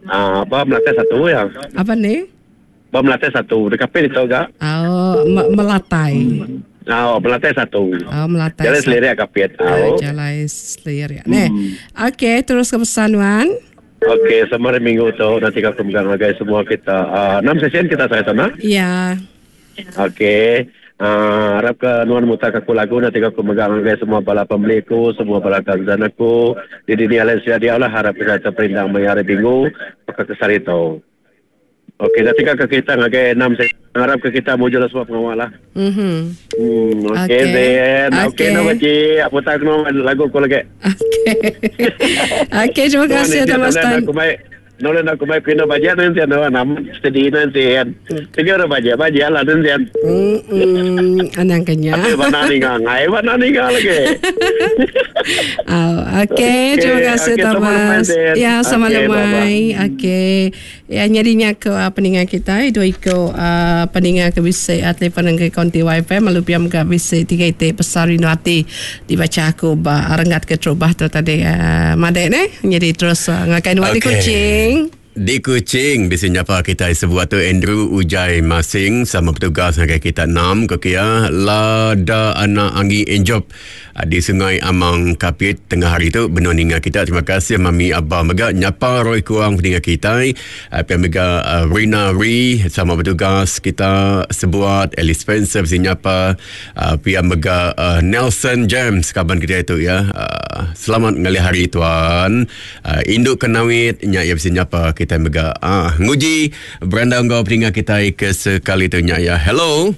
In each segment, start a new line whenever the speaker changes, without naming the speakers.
Ah, ba Melate satu ya.
Apa ni?
Ba Melate satu. Dekat Kapit itu ga.
Oh, Melatai.
Oh, Melate satu.
Oh, Melatai.
Jalai Selirik Kapit.
Oh. Jalai Selirik. Neh. Okey, terus ke pesan Wan.
Okey, sama hari minggu tu nanti aku megang ngagai semua kita. 6 session kita saya sana.
Ya.
Okey. Arap ke nuan mutar ke aku lagu nanti aku megang ngagai semua bala pembeli aku, semua bala kawan aku. Di dunia lain sudah dia lah harap kita terperindang maya hari minggu baka ke sehari tu. Okey, dah tinggal ke kita ngagai 6 session. Harap ke kita mujur semua pengawa lah.
Mhm.
Okey,
Okey.
Zen. Okey,
Okey.
no baci. Aku tak kena lagu aku lagi.
Okey. Okey, terima kasih Thomas Tan.
Aku baik. Nolen aku baik kena baca nanti anu nam steady nanti kan. Tiga orang baca baca lah nanti kan.
Hmm, anang kenya.
Tapi mana ni ngai, mana ni lagi.
Oh, okey, terima kasih
Okey, sama
Thomas.
lemai,
Ya, sama
Okey,
lemai.
bye-bye.
Okey. Ya, nyadinya ke peninga kita, dua iko peninga ke bisi telefon ke konti wifi malu piam ke bisi tiga iti besar rindu ati dibaca aku ba renggat ke terubah tu tadi madek ne. Jadi terus ngakai nuan di
Okey.
Kuching.
Di Kuching, di nyapa kita sebuah tu Andrew Ujai Masing sama petugas ngagai kita 6 ke kia Lada Anak Anggi Enjob di Sungai Amang Kapit tengah hari tu benar ninga kita. Terima kasih Mami Abah mega nyapa Roy Kuang peninga kita. Pia mega Rina Ri sama petugas kita sebuat Alice Spencer bisi nyapa pia mega Nelson James kaban kita itu ya. Selamat ngalih hari tuan. Induk Kenawit nya ya bisi nyapa kita mega nguji berandau enggau peninga kita ke sekali tu nya ya. Hello.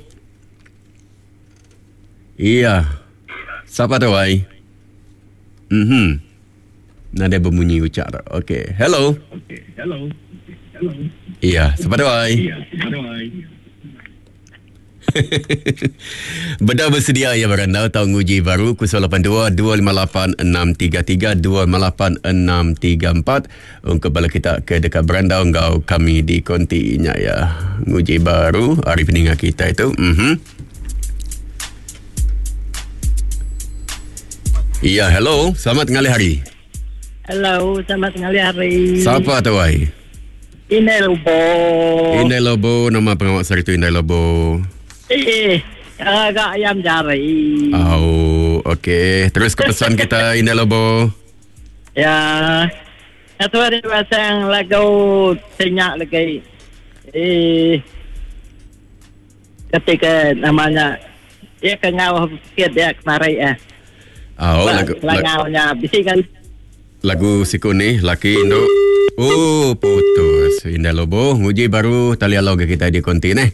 Iya. Siapa tu ai? Nada berbunyi ucap tu. Okey. Hello.
Okey. Hello. Hello.
Iya, siapa tu ai?
Iya, siapa tu ai?
Beda bersedia ya berandau tau nguji baru 082 258 633 258 634 untuk bala kita ke dekat berandau ngau kami di kontinya ya. Nguji baru hari peninga kita itu. Ya, hello. Selamat ngalih hari.
Hello, selamat ngalih hari.
Siapa tu ai?
Inai Lobo.
Inai Lobo, nama pengawal sehari tu Inai Lobo.
Agak ayam jari.
Oh, okey. Terus ke pesan kita Inai Lobo.
Ya. Satu hari pasang lagu senyak lagi. Ketika namanya ya kengau sikit dia kemarin eh.
Oh, lagu
langaunya bisi kan.
Lagu siku ni laki induk. Oh, putus. Indah Lobo, nguji baru tali alau ke kita di konti ni.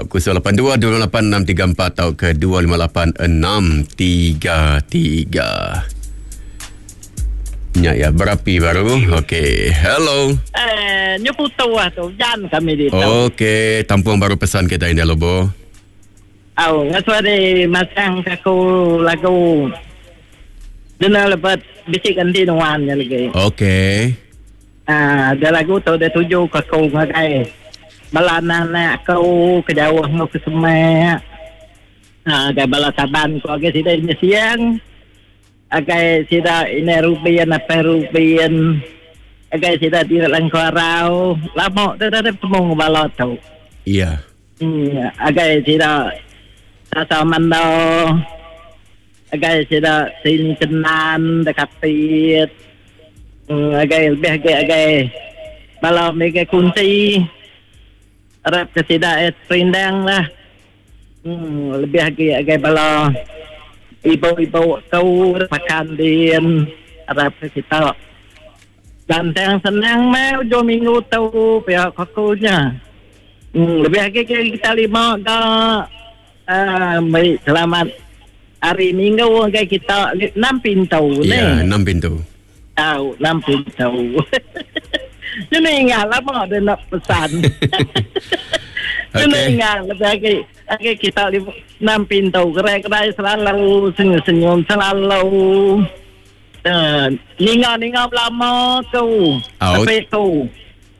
082 286 34 atau ke 258 633. Nya ya berapi baru. Okey. Hello.
Nyu putu lah tu. Jan kami di tu.
Okey, tampung baru pesan kita Indah Lobo.
Au, ngasuh masang aku lagu. Dena lebat bisik ganti nuan nya lagi.
Okey.
Ada lagu tu dia tuju ke aku ngagai. Bala anak aku ke jauh ngau ke semak. Agai bala saban ku agai sida ini siang. Agai sida ini rupian apa rupian. Agai sida di langkarau. Lama tu dah temu bala tu.
Iya.
Agai sida tasa mando. Agai sida sini kenan dekat pit. Agai lebih agai agai bala mega kunci. Arab ke sida perindang lah. Lebih agai agai bala ibu-ibu kau makan din Arab ke kita. Dan yang senang mah hujung minggu tu pihak akunya. Lebih agai kita lima ke baik selamat hari minggu agai kita 6 pintu ni.
Ya, 6 pintu.
Tahu, 6 pintu. Ini ingat lama dia nak pesan. Ini ingat lebih lagi, lagi kita 6 pintu. Gerai-gerai selalu senyum-senyum selalu. Ninga-ninga lama tu. Tapi tu.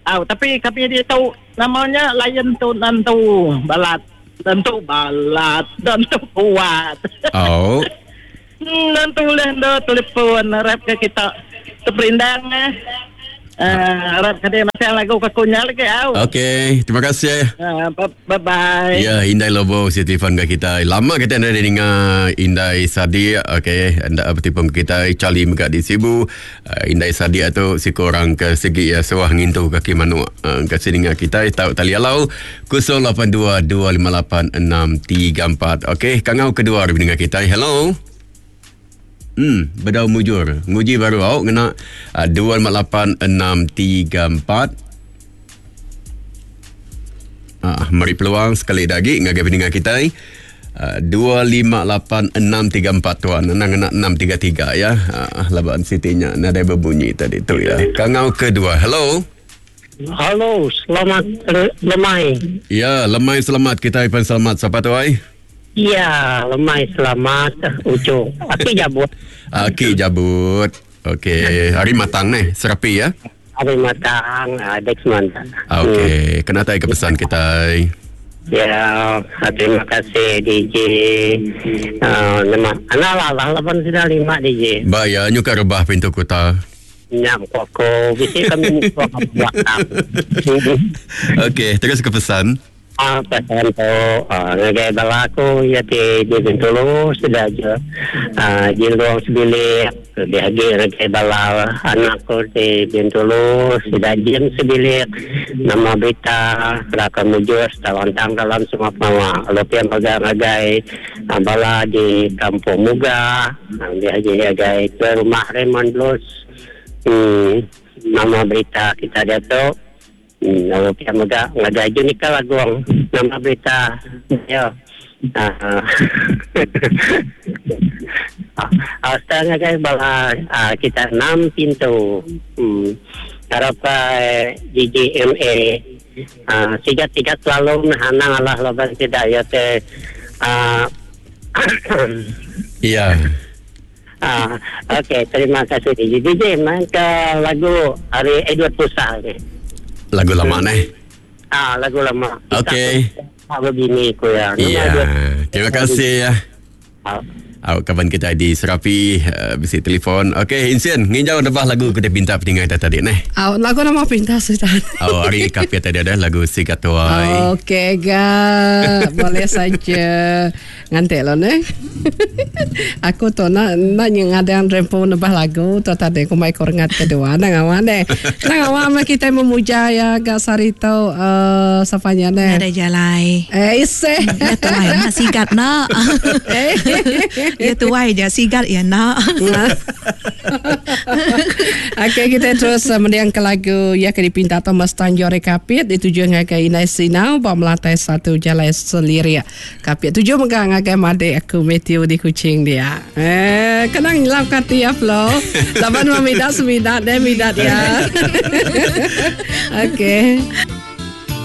Tapi kami dia tahu namanya lain tu nantu balat. Tentu balat, tentu kuat.
Oh.
Tentu lah dah telefon rap ke kita terperindang eh. Uh, harap kadi masih lagu ke kunyal lagi au.
Okey, terima kasih.
Uh, bye bye.
Ya, Indai Lobo si telefon ke kita. Lama kita dah dengar Indai Sadiq, okey, anda bertipung kita Charlie mega di Sibu. Uh, Indai Sadiq tu si korang ke segi ya suah ngintu kaki manuk. Uh, ke sini dengar kita tau tali alau 082 258 634. Okey, kangau kedua dengar kita. Hello. Hmm, bedau mujur. Nguji baru awak ngena uh, 258634. Ah, meri peluang sekali lagi ngagai pendengar kita. Uh, 258634 tuan. Nang ngena 633 ya. Uh, laban sitinya nadai berbunyi tadi tu ya. Kangau kedua. Hello.
Halo, selamat lemai.
Ya, lemai selamat kita Ivan selamat. Siapa tu ai?
Ya, lemai selamat ujung. Aki jabut.
Aki jabut. Okey, hari matang ni, serapi ya.
Hari matang, Dex mantap.
Okey, kena tai ke pesan kita.
Ya, terima kasih DJ. Nama anak lah lah lapan sudah lima DJ.
Ba ya, nyuka rebah pintu kota.
Nyam koko, bisi kami belakang.
Okey, terus ke pesan.
Pesan tu ngagai bala aku ya ti di Bintulu sudah je jiluang sebilik lebih lagi ngagai bala anak aku di Bintulu sudah jim sebilik nama berita raka mujur lantang dalam semua pengawa lalu pia mega ngagai bala di Kampung Muga lebih lagi ngagai ke rumah Raymond Blues nama berita kita dia tu. Lalu pia mega ngagai Junika Laguang nama berita ya. Sekarang ngagai bala kita 6 pintu. Harap GGMA sigat-sigat selalu hanang Allah laban tidak ya te.
Ya.
Okey, terima kasih DJ. DJ main ke lagu hari Edward Pusa ni.
Lagu lama ni.
Lagu lama.
Okey.
Begini ku ya.
Ya. Terima kasih ya. Kawan kita di Serapi bisi telefon. Okey, Insian, nginjau nebah lagu kita pinta peninggai tadi ni.
Lagu nama pinta sudah.
Oh, hari kapia tadi ada lagu Sigatuai.
Okey ga, boleh saja. Ngantik lo ni. Aku tu nak nak ngadang rempu nebah lagu tu tadi ku mai korengat kedua nang awan ni. Nang awan kita memuja ya ga sari tu sapanya ni.
Ada jalai.
Ise.
Ya tuai nak sigat nak. Ya tuai je sigat ya nak.
Okey, kita terus mendiang ke lagu ya ke dipinta Thomas Tanjore Kapit dituju ngagai Inai Sinau ba melantai satu jalai seliria. Kapit tuju mega ngagai madek aku Matthew di Kuching dia. Kenang nyelap kati ya Flo. Laban memidak semidak deh midak ya. Okey.